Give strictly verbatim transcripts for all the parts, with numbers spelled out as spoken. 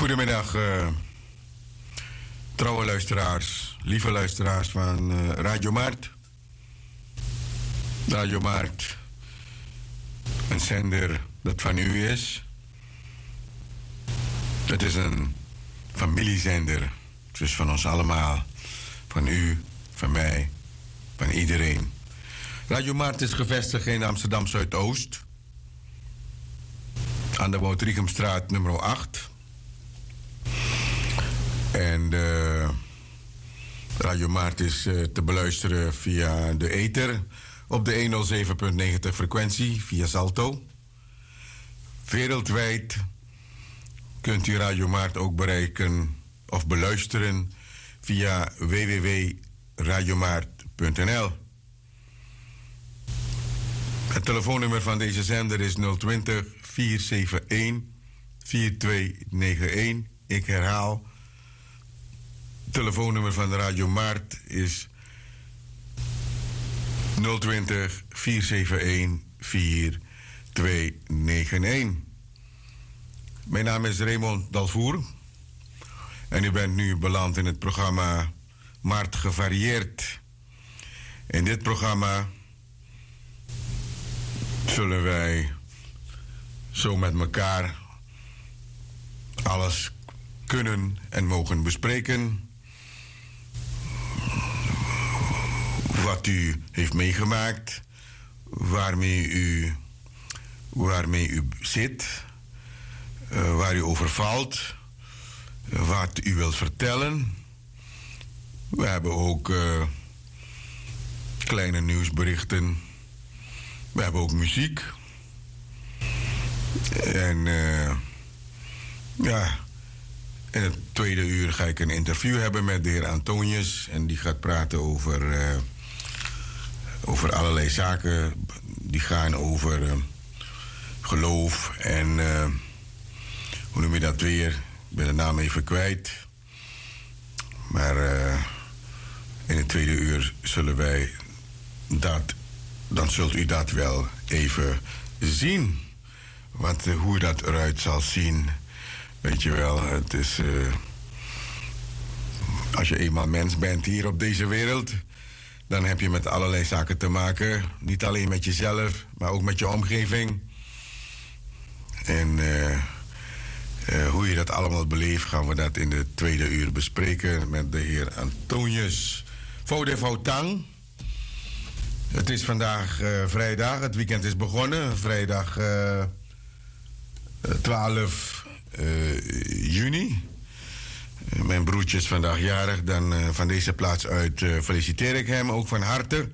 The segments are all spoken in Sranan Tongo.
Goedemiddag, eh, trouwe luisteraars, lieve luisteraars van eh, Radio Markt. Radio Markt, een zender dat van u is. Het is een familiezender. Het is van ons allemaal, van u, van mij, van iedereen. Radio Markt is gevestigd in Amsterdam Zuidoost, aan de Woudriegumstraat nummer acht. En de Radio Markt is eh, te beluisteren via de ether op de honderdzeven punt negentig frequentie via Salto. Wereldwijd kunt u Radio Markt ook bereiken of beluisteren via www.radiomarkt.nl. Het telefoonnummer van deze zender is nul twintig, vier zeven een, vier twee negen een. Ik herhaal, het telefoonnummer van Radio Markt is nul twintig, vier zeven een, vier twee negen een. Mijn naam is Raymond Dalvoer en u bent nu beland in het programma Markt Gevarieerd. In dit programma zullen wij zo met elkaar alles kunnen en mogen bespreken wat u heeft meegemaakt, waarmee u, waarmee u zit, eh, waar u over valt, wat u wilt vertellen. We hebben ook eh, kleine nieuwsberichten. We hebben ook muziek. En eh, ja, in het tweede uur ga ik een interview hebben met de heer Antonius. En die gaat praten over, eh, over allerlei zaken. Die gaan over eh, geloof en eh, hoe noem je dat weer? Ik ben de naam even kwijt. Maar eh, in het tweede uur zullen wij dat, dan zult u dat wel even zien. Wat, eh, hoe dat eruit zal zien. Weet je wel, het is. Eh, als je eenmaal mens bent hier op deze wereld, dan heb je met allerlei zaken te maken. Niet alleen met jezelf, maar ook met je omgeving. En eh, eh, hoe je dat allemaal beleeft, gaan we dat in de tweede uur bespreken met de heer Antonius. Foude Foutang. Het is vandaag eh, vrijdag, het weekend is begonnen. Vrijdag eh, eh, twaalf eh, juni. Eh, mijn broertje is vandaag jarig. Dan eh, van deze plaats uit eh, feliciteer ik hem ook van harte.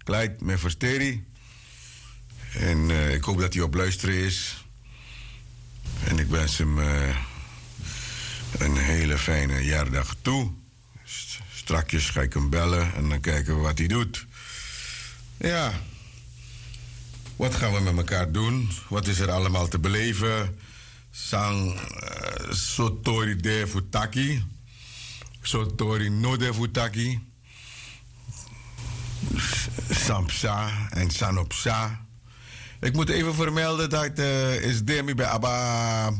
Clyde Meverteri. En eh, ik hoop dat hij op luisteren is. En ik wens hem eh, een hele fijne jaardag toe. St- Strakjes ga ik hem bellen en dan kijken we wat hij doet. Ja, wat gaan we met elkaar doen? Wat is er allemaal te beleven? Sang eh, sotori de futaki. Sotori no de futaki. San psa en san no psa. Ik moet even vermelden dat eh, is de mi ben aba,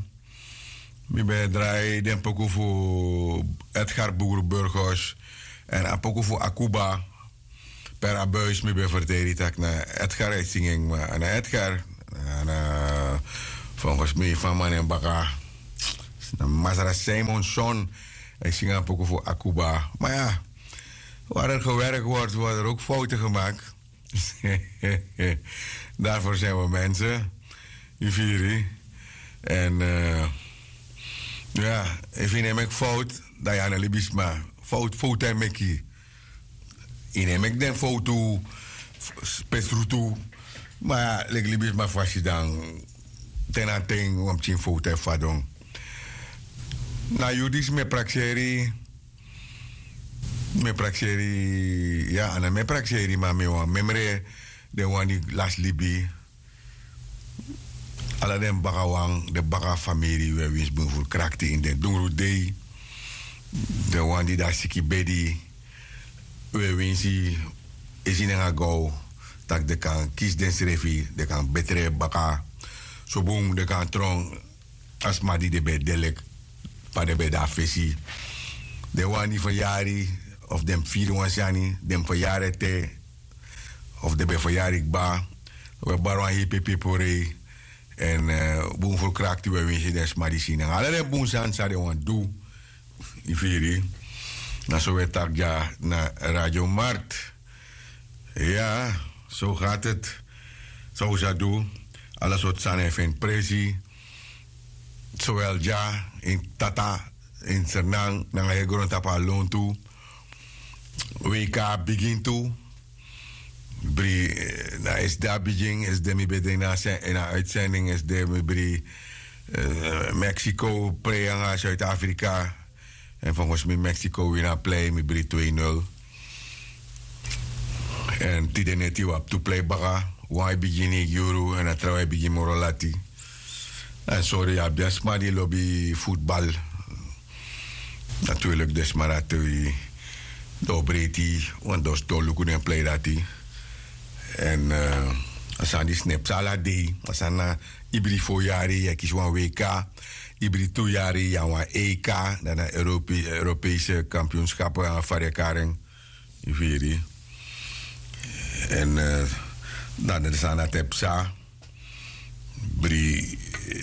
mi ben draai den poku fu Edgar Boer Burgos en a poku fu Akuba. Per abuis mi ben verteri tak na Edgar e singing ma na Edgar na volgens mi van man en baka na Masra Simonson. Ik zing a poku fu Akuba. Maar ja, waar er gewerkt wordt, worden er ook fouten gemaakt. Daarvoor zijn we mensen. Yu firi. En eh, ja, efu yu no e meki fout, dan yu a no libisma. Fout, fout e meki. Yu no e meki den fout tu, spesrutu. Ma leki libisma fasi dan. Ten na ten wan pikin fout e fadon. Na yu disi mi e prakseri. Mi e prakseri, ya, a no mi e prakseri, ma mi wan memre, den wan di lasi libi. Ala den baka wan, den baka famiri, we winsi bun furu krakti ini den dungru dei. Den wan di de na siki bedi, we winsi, e si nanga go, tak' den kan kisi densrefi, den kan betre baka. So bun den kan tron, a sma di den ben de leki fa den ben de na fesi. Den wani fu yari, of den mus firi wan sani, den mus fu yari ete, of den ben fu yari kba. Wi e bari wan hei pepe pori. Èn bun fu krakti wi e winsi den sma di si nanga ala den bun sani san den wani du. Yu firi? Na so wi e taki dya na radio mart. Ya, so gati eti. San un sa du? Ala sortu sani e feni presi. Sowel dya ini tata, ini sernan nanga heri grontapu a lontu. Weika a bigin tu. Bri na esde a bigin esde mi ben de ini a uitzending esde mi bri. Mexico prei nanga suid-afrika. Èn fongos mi mexico wini a plei mi bri twee nul. Èn tide neti wi abi tu plei baka. Wan e bigin ini yuru èn a trawan e bigin moro lati. Èn sori yu abi den sma di lobi futbal. Naturlik den sma dati wi den o breiti. Wan dosi don luku den plei dati. Èn a sani disi no e psa ala dei. A sani na ibri fo yari yu e kisi wan wk. Ibri tu yari yu na wan ek. Dan na europeise kampionskapu nanga fari e kari en. Yu firi? Èn dan den sani dati e psa. Bri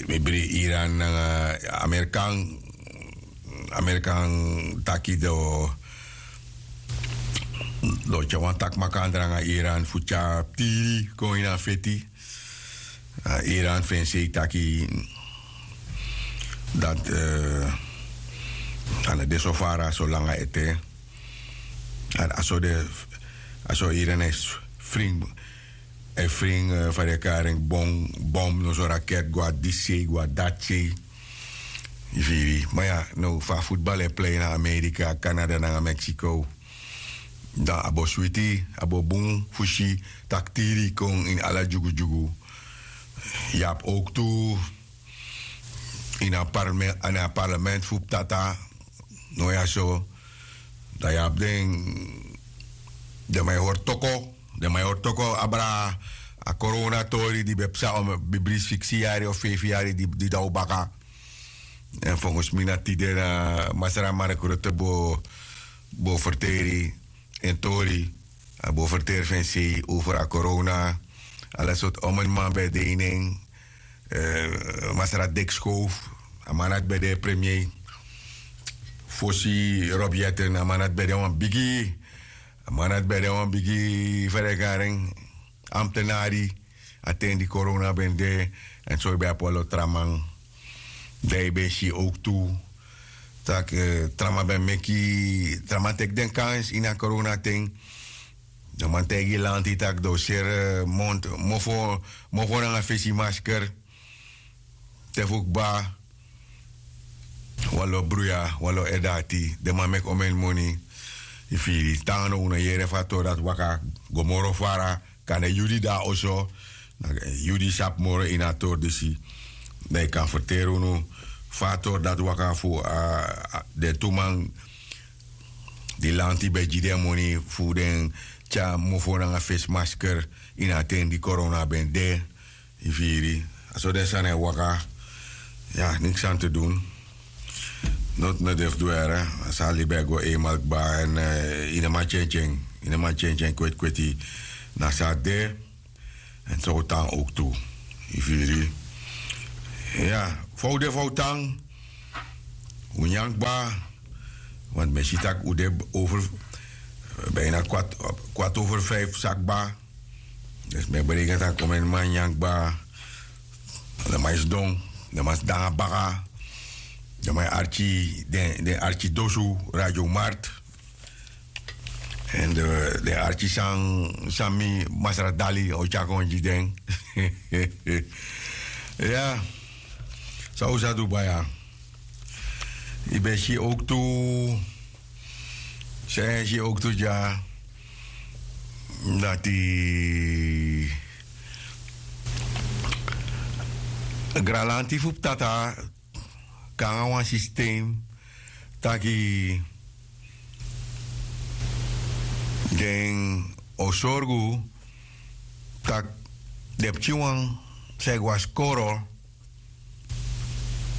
mi bri iran nanga amerikan. Amerikan taki den o tyari wan taki makandra nanga iran fu tyari tiri kon ini a feti. Iran fu en sei taki dati a no de so fara so langa ete. A so de a so iran e fring e fring fa den e kari en bom bom noso raket go na disi sei go na dati sei. Yu firi ma ya now fu a futbal e plei na amerika kanada nanga mexico. Dan a bo switi a bo bun fu si tak' tiri kon ini ala dyugudyugu. Yu abi owktu ini a parlement fu ptata. No ya so dan yu abi den den man e hori toko den man e hori toko abra a koronatori di ben psa o mi bibri siksi yari of feifi yari di daw baka. Èn fongos mi na tide na masra markrote bo ferteri en tori. A bo ferteri fu en sei over a korona. Ala sortu omen man ben de ini en. Masra dikskowf a man dati ben de premier. Fosi rob yeten a man dati ben de wan bigi. A man dati ben de wan bigi fa den e kari en. Amtenari a ten di korona ben de. Èn so yu ben abi wan lo tra man. Dan yu ben si owktu tak' tra man ben meki tra man teki den kans ini a koronaten. Den man taigi lanti tak' den o seri mond mofo nanga fesi masker. Te fu kba wan lo bruya wan lo edati den man meki omen moni. Yu firi tan no un no yere fu a tori dati waka go moro fara. Kande yu di de na oso yu di sabi moro ini a tori disi. Dan yu kan ferteri unu fu a tori dati waka fu den tu man di lanti ben gi den moni fu den tyari mofo nanga fesi masker ini a ten di korona ben de. Yu firi a so den sani e waka. Ya niksi san te dun. Noti no de fu du ere. A sani libi e go einmal kba èn yu no man tyentyen yu no man tyentyen kwetikweti. Na so a de. Èn so un tan owktu. Yu firi? Ya fa un de fa un tan. Un nyan kba. Want mi e si tak' un de over bina kwart over fif sa kba. Dus mi e breken tak' un men man nyan kba. Den man e sidon den man sidon nanga baka. Den man e arki den arki dosu. Radio mart. Èn den arki san mi masra dali o tyari kon gi den. Ya. San un sa du baya? Yu ben si owktu. San yu e si owktu dya? Dati granlanti fu ptata kon nanga wan sistem taki den o sorgu tak' den pikinwan san e go na skoro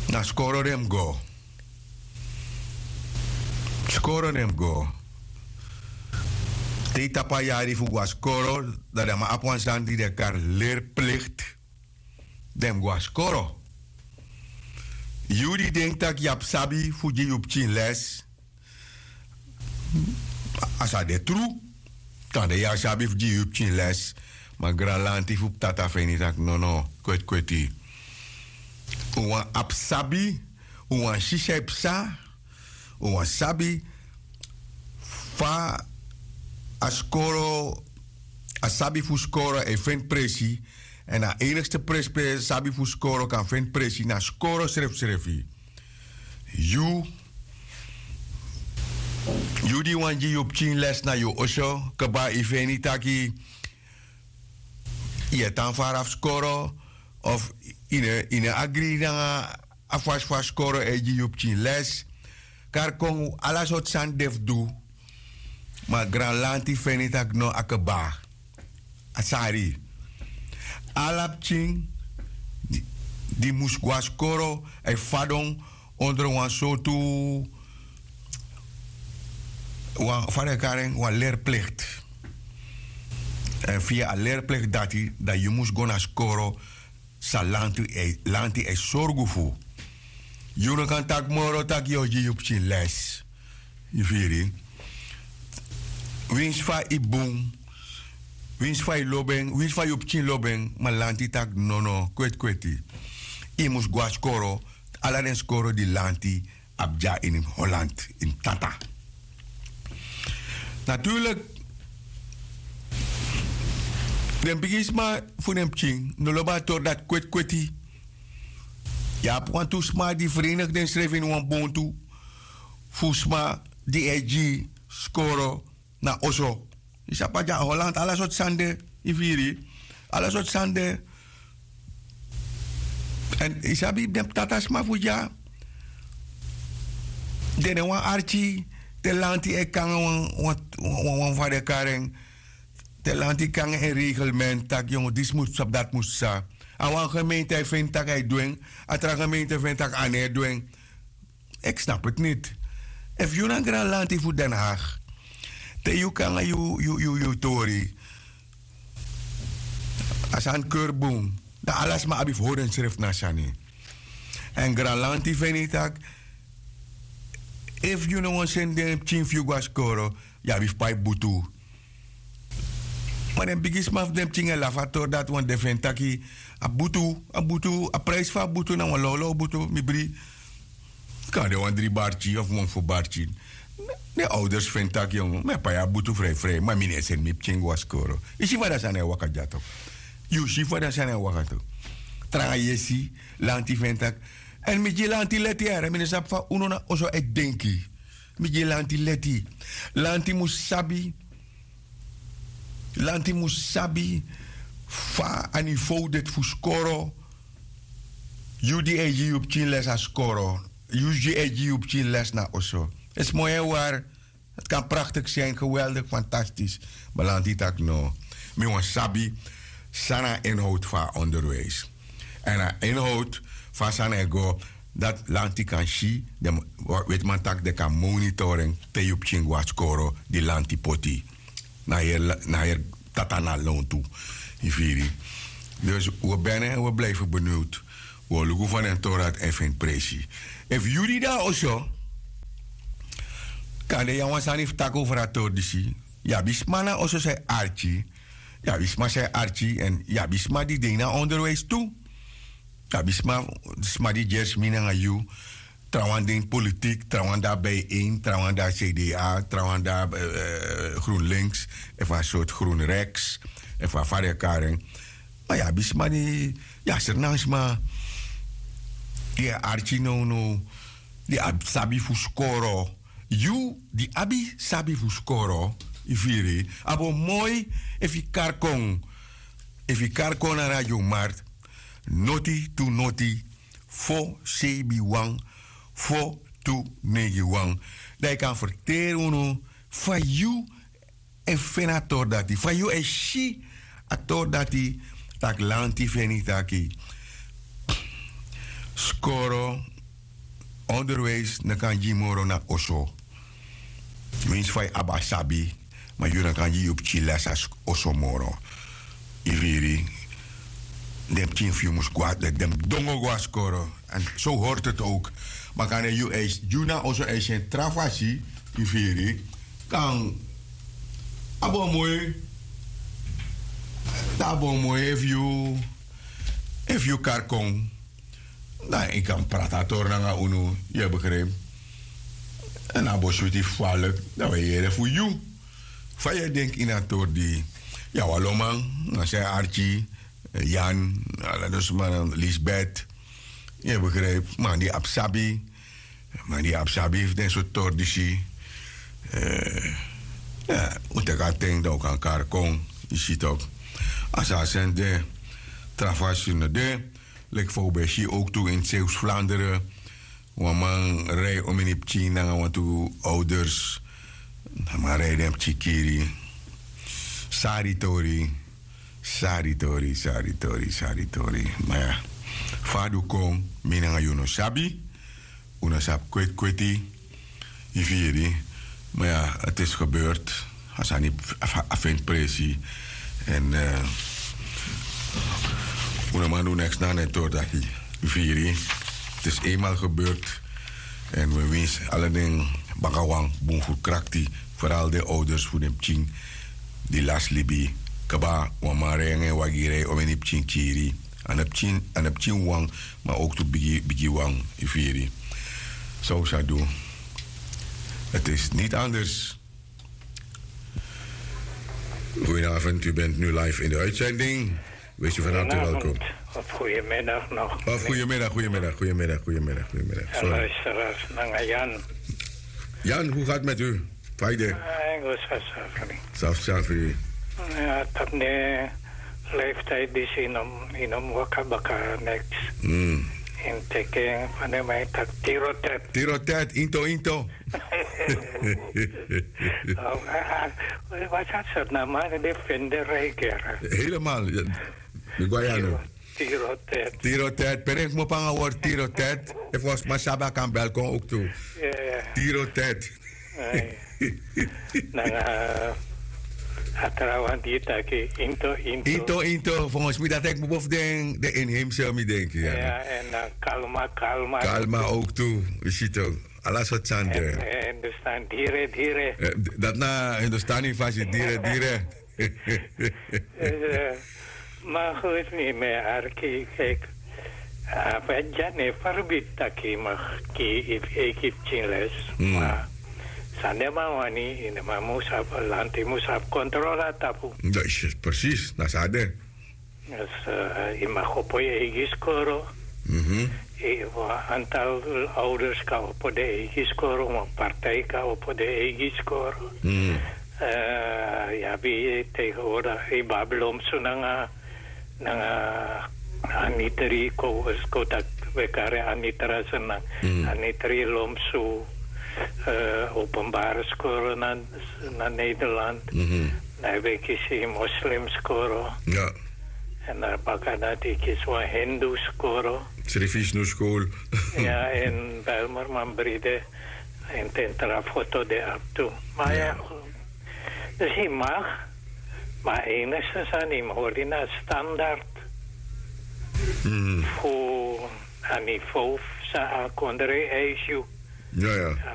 na skoro den mus go. skoro den mus go. Te yu tapu a yari fu go na skoro, dan den man abi wan sani di den e kari lerplikt. Den mus go na skoro. Yu di denki tak' yu abi sabi fu gi yu pikin les, a sa de tru. Kande yu abi sabi fu gi yu pikin les, ma granlanti fu ptata feni tak' nono, kwetkweti. Un wani abi sabi, un wani si san e psa, un wani sabi fa a skoro, a sabi fu skoro e feni presi. Èn a enigste presi pe sabi fu skoro kan feni presi na skoro srefsrefi. Yu, yu di wani gi yu pikin les na yu oso, kba, yu feni taki yu e tan fara fu skoro, of yu no, yu no agri nanga a fasi fa skoro e gi yu pikin les. Kari kon, ala sortu sani de fu du. Ma granlanti feni tak' no, a kba. A sari. Ala pikin di, di mus go na skoro, a e fadon ondro wan sortu, wan, fa den e kari en, wan lerplikt. Èn via a lerplikt dati, dan yu mus go na skoro, san lanti e, lanti e sorgu fu. Yu no kan taki moro tak' yu o gi yu pikin les. Yu firi? Winsi fa yu bun, winsi fa yu lobi en, winsi fa yu pikin lobi en, ma lanti taki nono, kwetkweti. Yu mus go na skoro, ala den skoro di lanti abi dya ini Holland, ini Tata. Natuurlik, den bigisma fu den pikin no lobi a tori dati kwetkweti. Yu abi wantu sma di verenigi densrefi ini wan bontu fu sma di e gi skoro na oso. Yu sabi a dya Holland, ala sortu sani de, yu firi. Ala sortu sani de. Èn yu sabi den ptata sma fu dya, den no wani arki te lanti e kon nanga wan, wan, wan, wan, fa den e kari en, te lanti kon nanga en reglement, tak' yongu, disi mus psa, dati mus psa. A wan gemeente e feni tak' a e du en, a tra gemeente e feni tak' a no e du en. Ik snap het niet. Efu yu na granlanti fu Den Haag, te yu kon nanga yu, yu, yu, yu tori, a sani keri bun, dan ala sma abi fu hori ensrefi na a sani. Èn granlanti feni tak', efu yu no wani seni den pikin fu yu go na skoro, yu abi fu pai butu. Ma den bigisma fu den pikin e lafu a tori dati, want den feni taki a butu, a butu, a prijsi fu a butu na wan lawlaw butu, mi bri. Kan de wan dri barki of wan fo barki. Den ouders feni taki, yongu, mi e pai a butu frijfrij, ma mi no e seni mi pikin go na skoro. Yu si fa den sani e waka dya tok. Yu si fa den sani e waka tok. Tranga yesi, lanti feni taki. Èn mi gi lanti leti, yere, mi no sabi fa unu na oso e denki. Mi gi lanti leti. Lanti mus sabi, lanti mus sabi fa a niveau de fu skoro. Yu di e gi yu pikin les na skoro, yu di e gi yu pikin les na oso. Esi moi en wari, het kan prachtig zijn, geweldig, fantastisch. Ma lanti taki no. Mi wani sabi san na a inhoud fu a onderwijs. Èn a inhoud fu a sani e go, dati lanti kan si, den wetiman taki den kan monitor en, te yu pikin go na skoro, di lanti poti na heri, na heri tata na lontu. Yu firi? Dus we ben en we blijven benieuwd. We luku fa den tori dati e feni presi. Efu yu di de na oso, kande yu abi wan sani fu taki over a tori disi. Yu abi sma na oso san e arki. Yu abi sma san e arki, èn yu abi sma di de ini a onderwijs tu. Yu abi sma, sma di gersi mi nanga yu. Trawan de ini politiek, trawan de na Bijeen, trawan de na C D A, trawan de na, eh, eh, GroenLinks, efu a sortu GroenRechts, efu a fa den e kari en. Ma yu abi sma di, yu abi Sranan sma di e arki nownow, di abi sabi fu skoro. Yu di abi sabi fu skoro, yu firi, a bo moi efu yu kari kon, efu yu kari kon na Radio Markt, noti tu noti, fo seibin wan, fo tu neigi wan. Dan yu kan ferteri unu fa yu e feni a tori dati, fa yu e si a tori dati, tak' lanti feni taki skoro, onderwijs no kan gi moro na oso. Winsi fa yu abi a sabi, ma yu no kan gi yu pikin les a oso moro. Yu firi? Den pikin fu yu mus go a den mus dongo go a skoro. Èn so hori tete owk. Ma kan den yu eisi gi unu na oso eisi en tra fasi. Yu firi? Kan abi wan moi dan abi wan moi efu yu efu yu kari kon, dan yu kan prati a tori nanga unu. Yu e begripi? Èn a bo switi falik dan wi e yere fu yu. Fa yu e denki ini a tori di yu abi wan loman, na san yu arki, yan, ala den sma, lisbeth. Yu e begripi? Man di abi sabi, man di abi sabi fu den sortu tori disi. Un teki a ten dan un kan kari kon. Yu si toki? A sa a seni de. Tra fasi no de. Leki fa un ben si owktu ini sewsu flandere, wan man rei omeni pikin nanga wantu owders. A man rei den pikin kiri. Sari tori. Sari tori sari tori sari tori. Ma ya, fa a du kon, mi nanga yu no sabi. Un no sabi kweti kweti. Yu firi? Ma ya, a tesi gebert. A sani a feni presi. Èn un no man du neks na a neti tori dati. Yu firi? Tesi enmal gebert. Èn wi winsi ala den bakawan bun fu krakti, foral den owders fu den pikin di lasi libi. Kaba, wan man rei nanga en wagi rei omeni pikin kiri. A no pikin a no pikin wan, ma owktu bigi bigi wan. Yu firi? San un sa du? Ti is niti anders. Goedenavond, u bent nu live in de uitzending. Wees u van harte welkom. Of goedemiddag nog. Of goedemiddag, goedemiddag, goedemiddag, goedemiddag, goedemiddag. Sorry. Luisteraars, nanga Jan. Jan, hoe gaat het met u? Faide. Safsafri. Ja, dat ne leeftijd die ze in hem, in hem waka baka niks. In teken van de mij tak tirotet. Tirotet, into, into. Wat had ze na maar de vinderrijker. Helemaal. Mi go a yanu. Tiro tet. Tiro tet. Pere fu mo panga word tiro tet. Efu wan sma sabi a kan bel kon owktu. Tiro tet. Nanga a trawan di taki into into. Into into. Fongosi mi dati eki mi bo fu den inheimse mi denki. Ya, èn kalma kalma. Kalma owktu. Yu si toki? Ala sortu sani de. Hindustan dire dire. Dati na hindustani fasi dire dire. Ma goed, mi mi e arki keki. A feti dya no e ferbiti tak' yu mag gi eigi pikin les. Ma san den man wani, den man mus abi lanti mus abi kontrol na tapu. Presis na san a de. Dus yu mag opo yu eigi skoro. Wan antal ouders kan opo den eigi skoro, wan partij kan opo den eigi skoro. Yu abi tegenwoordig yu babi lomsu nanga nanga anitri ko, ko tak' we kari anitra sena. Anitri lomsu, openbare skoro na Nederland. Dan yu ben kisi moslim skoro. Èn na baka dati yu kisi wan hindu skoro. Sri Vishnu skoro. Ya, èn Bijlmerman bride. Èn ten tra foto de abi tu. Ma ya, dus yu mag. Ma enigste sani yu mag hori na standard fu a niveau san a kondre eisi yu. Ya ya.